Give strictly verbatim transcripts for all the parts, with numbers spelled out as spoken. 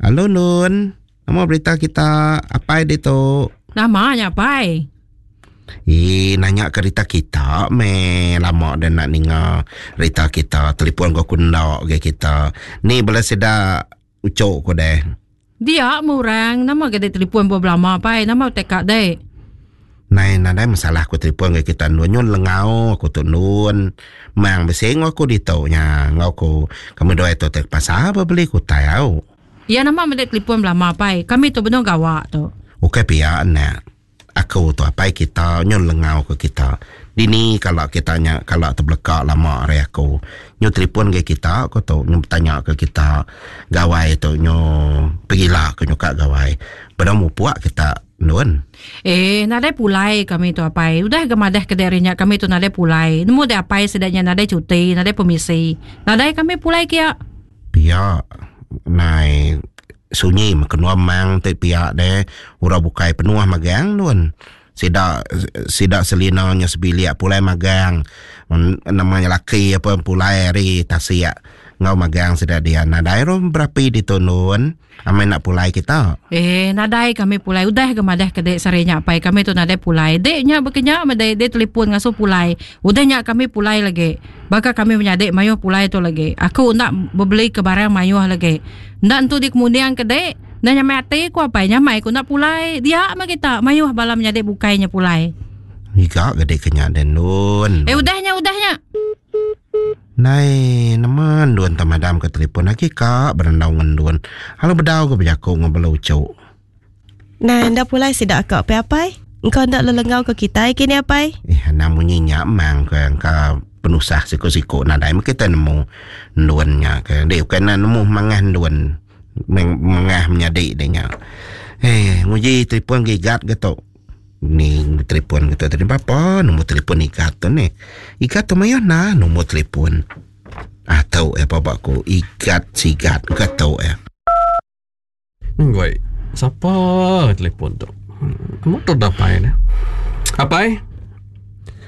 Halo Nun. Nama berita kita apai ditu? Nama nya apai? Ih, nanya ke rita kita me lama dah nak ninga rita kita. Telefon ko ku enda ke kita. Ni bala sida ucok ko deh. Dia murang nama ke telefon bo belama apai nama tekak deh. Nai nadai masalah aku telefon ke kita nun nyun lengau aku tu nun. Mang besing aku ditu nya ngau aku kami dua itu tek pasar beli kutai au. Ya nama mendek telefon belama apai. Kami tu benar gawak tu. Okey pia anak. Aku tu apai kita nyun lengau ke kita. Dini kalau kita nya kalau terbelakak lama hari aku. Nyu telefon ke kita aku tu nyu bertanya ke kita gawai tu nyu pergilah ke nyu kat gawai. Benar mupuak kita nun. Eh, nadai pulai kami tu apai. Udah gemadah ke darinya kami tu nadai pulai. Nemu dek apai sedaknya nadai cuti, nadai permisi. Nadai kami pulai kia. Pia nai sunyi makan mang te pia deh ura bukai penuh magang nun. Sida sida selina nya sebilik pulai magang. Namanya laki apa pulai hari tasiak ngau magang sida dia nadai rom berapi di tunun. Amai nak pulai kita. Eh, nadai kami pulai. Udah gemadah ke dek sarinya apai kami tu nadai pulai. Dek nya berkenya madai dek telefon ngasuh pulai. Udah nya kami pulai lagi. Baka kami menyadik mayuh pulai tu lagi. Aku nak beli ke barang mayuh lagi. Ndak entu di kemudian ke dek. Dah nyamai hati ku apai nyamai ku nak pulai. Dia mah kita mayuh bala menyadik bukainya pulai. Iga gede kenya den nun. Eh udahnya udahnya. Nai nama duan tamadam ke telefon lagi kak berendau ngendun. Halo bedau ke berjakuk ngobel ucuk. Nah, ndak pulai sidak kak pe apai? Engkau ndak lelengau ke kita kini apai? Eh, namunyi nyak mang ke engkau penusah siku-siku nadai kita nemu nduannya ke. Dia bukan nak nemu mangah nduan. Mangah menyadik dia nya. Eh, nguji telefon gigat ke tu. Ni telefon kita tadi apa nombor telefon ikat tu ni. Ikat tu mayo na nombor telefon. Atau eh apa aku ikat sigat ke tau eh. Nggoi, siapa telefon tu? Kamu tu dah pai ni. Apai?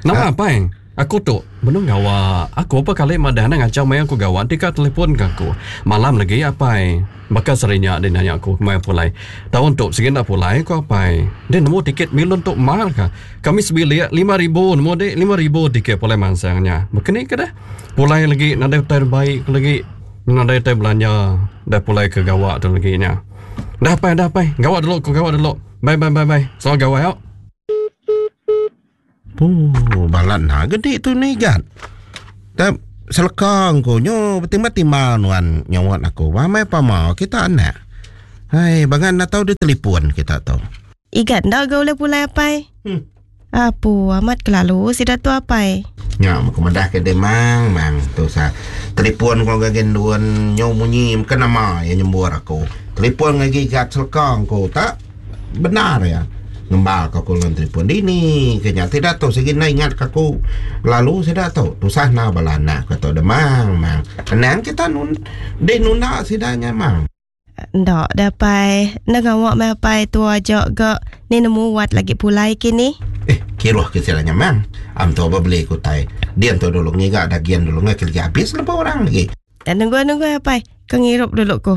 Nama apai? Aku tu benar gawa. Aku apa kali madah nak ngacau mai aku gawa tika telefon ke aku. Malam lagi apai. Bakal serinya dia nanya aku kemai pulai. Tahun tu segini nak pulai aku apai. Dia nemu tiket milon tu mahal ka. Kami sebilik lima ribu nemu dek lima ribu tiket pulai mansangnya. Begini ke dah? Pulai lagi nadai terbaik lagi. Nadai ter belanja dah pulai ke gawa tu lagi nya. Dah apai dah apai. Gawa dulu aku gawa dulu. Bye bye bye bye. So gawa yuk. Oh, balat nak gede tu ni kan. Tak selekang ko nyo bertimbang-timbang nuan nyawat aku. Ramai pama kita anak. Hai, bangan nak tahu dia telefon kita tahu. Igat ndak gak boleh pulai apai? Hmm. Apu amat kelalu sida tu apai. Nya aku madah ke demang mang tu sa. Telefon ko gagen duan nyo munyi ke nama yang nyembur aku. Telefon lagi gat selekang ko tak benar ya. Ngembal ke aku dengan telefon dini kenya tidak tahu segi nak ingat ke aku lalu saya dah tahu tusah na balana kata demang mang kenang kita nun de nunda sidanya mang ndak dapai nak awak mai pai tu ajak ke ni nemu wat lagi pulai kini eh kiruh ke silanya mang am tu beli kutai dia tu dulu ngiga dagian dulu ngak lagi habis lepas orang lagi dan nunggu nunggu apai ke ngirup dulu ko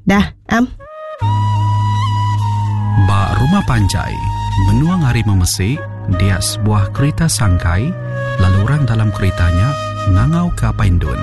dah am. Ba rumah panjai, menuang hari memesik, dia sebuah kereta sangkai, lalu orang dalam keretanya ngangau ke Apai Indun.